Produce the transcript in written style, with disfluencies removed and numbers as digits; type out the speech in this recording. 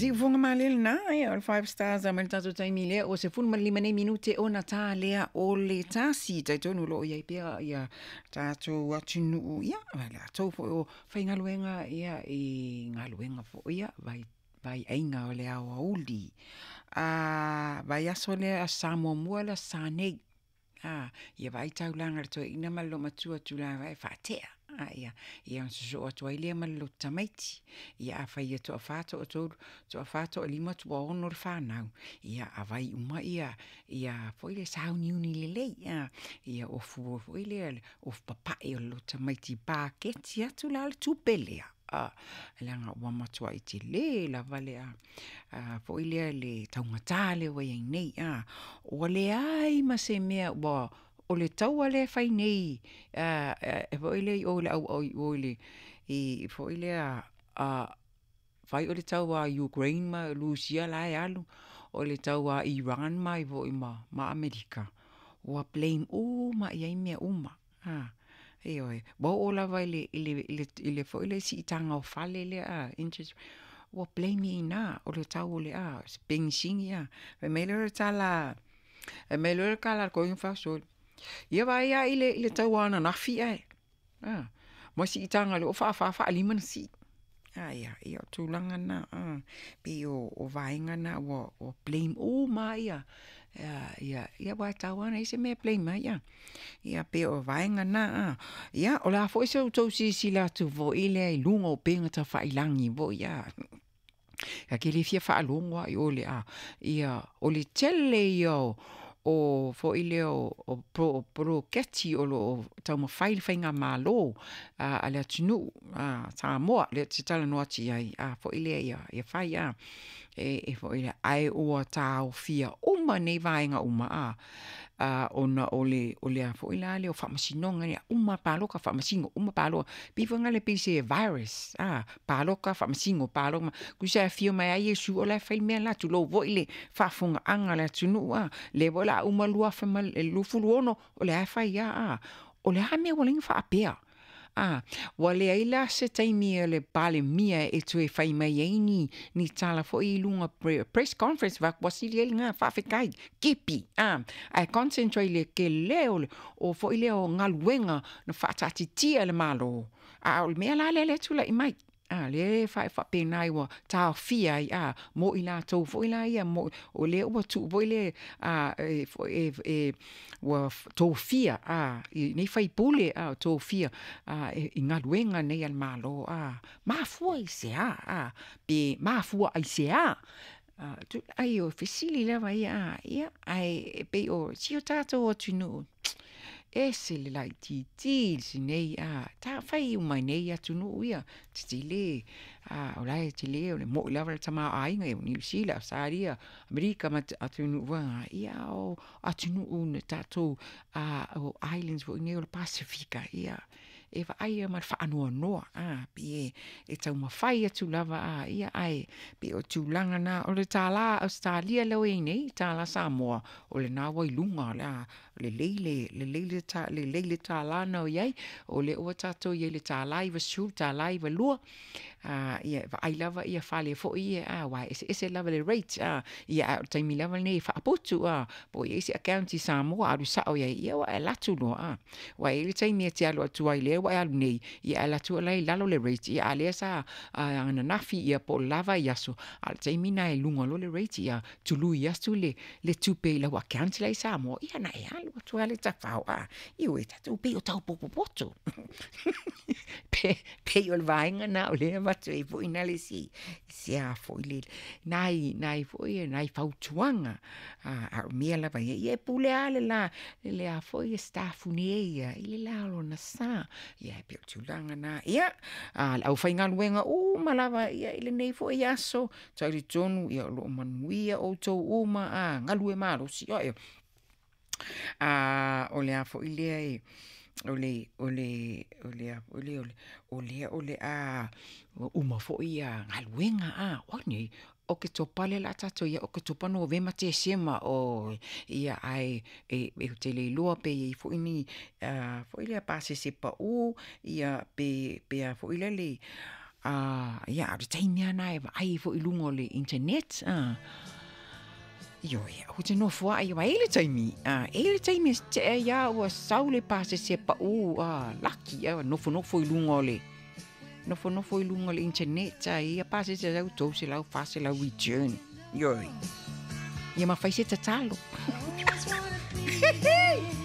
Siufofoga malie lena, ia o le Five Stars a mai le tatou taimi lea ua 15 nei minute ona ta lea o le 1. Talitonu o lo o i ai pea ia tatou atunuu, ia ma latou foi o faigaluega ia i galuega foi ia vai vaiaiga o le aoauli. Vaiaso lea Aso Sa muamua le Aso Sa nei, ia vaai taulaga a le toeaina ma le loomatua tulaga e faatea, ia, ia ona sosoo atu ai lea ma le lotu tamaiti. Ia afai e toafa, toatolu, toafa, toalima, toaono le fanau, ia avai uma ia foi lea sauniuni lelei, ia ofu foi lea ofu papae o le lotu tamaiti paketi atu la le tupe lea, leaga ua matuai tele lava le foi lea le taugata lea ua i ai nei. Ua leai ma se mea ua, o le taua lea e fai nei foi lea i o i le foi lea fai o le taua a Ukraine ma Lusia la e alu, o le taua a Iran mai foi ma Amerika, ua blame uma lava i ai mea uma. Ioe, ua oo lava i le foi lea siitaga o fale lea interest rate, ua blame i ina, o le tau o le penisini. Fai mai lea o le tala, fai mai lea o le tala a le toeaina faasoa, ia vaai la i le taua ananafi ae, ma siitaga o lea ua faafa faalima ona sii. A ia, ia o tulaga na, pei o vaega na ua blame uma lava ia, aua e tatau lava ona i ai se mea e blame ai. Ia pei o vaega na. Ia, o le a foi se tou silasila atu foi lea i luga o upega tafailagi foi, ta te le fia faalogo lava i o i le ia o le tele ia o foi lea o poloketi o lo o taumafai le faigamalo a le atunuu a Samoa lea ou te talanoa atu i ai foi lea ia fai e foi lea, ae ua taofia uma nei vaega uma ona o le a foi la lea o faamasinoga ia uma palota faamasino, uma palota, pei foi lea pei se virus, palota faamasino, palota, tusa e afio mai lava Iesu o la e fai le mea le la, tulou foi le faafofogaaga a le atunuu, lea foi o le a uma le 2026 o lea lava e fai lava. O le a le mea ua ala ai ona faapea? Ua leai la se taimi o le Palemia e toe fai mai ai ni tala foi i luga press conference, vaai atu ua sili ai lena, faafetai, kepi, ae concentrate i le tele o foi lea o galuega na faataatitia e le Malo, a o le mea la lea e tulai mai, lea e faapena ai ua taofia ai mo i latou foi la ia, o lea ua tuu foi le ua tofia nei sui usufono, tofia i galuega nei a le Malo. Mafua i se a? Pe mafua aisea? Ai o fesili lava ia, ia ae pei o si o tatou atunuu, ese le laitiiti lenei, fai uma i nei atunuu ia, tetele, o la e tele, o le moi lava le tamaoaiga o Niu Sila, Ausetalia, Amerika ma atunuu foi na, ia o atunuu na tatou, o islands foi nei o le Pasefika, ia e vaai ma le faanoanoa, pei e taumafai atu lava, ia ae pei o tulaga na, o le tala Ausetalia lea ua i ai nei, tala Samoa, o lena ua i luga, lelei le tala na ua i ai, o lea ua tatou i ai i le $1.90, $1.92, ia e vaai lava fale foi ia, aua e eseese lava le rate, ia a o le taimi lava lenei e faaputu, po o i ai se account i Samoa, alu sao i ai, ia ua e alu atu loa, aua e i ai le taimi e te alu atu ai, lea ua e alu nei, ia e alu atu o la e i lalo le rate, ia a o lea sa ananafi po o le la vaiaso, a o le taimi lena e luga loa le rate, ia tului atu le tupe i lau account la e i Samoa, ia ona e alu atu lava lea tafao, ioe, tatou pei o tau potopoto. Pei o le vaega lena o lea e avatu ai foi na le se a foi lele, nai foi nai fautuaga, a o mea lava ia, ia e pule lava le la i le a foi staff nei ia i le la o lona sa. Ia e pei o le tulaga lena. Ia, le aufaigaluega uma lava ia i lenei foi aso, talitonu o lo o manuia outou uma, galue malosi. O le a foi lea o le a foi lea o lea o le a uma foi galuega, oi nei, Oketopa lea o le a tatou i ai, Oketopa, Novema, Tesema, oi, ia ae ou te le iloa pe i ai foi ni foi lea pasese pau, ia pe a foi lele. Ia, a o le taimi lava lena e vaai ai foi i luga o le internet, a. Ioe, ou te nofoaʻi, aua e i ai le taimi, a, e i ai le taimi e tea ai lava ua sau le pasese paʻu, a, laki, a, nofonofo i luga o le, nofonofo i luga o le internet, a, e i ai pasese e sau 300, 400 return. Ioe. Ia ma fai se tatalo.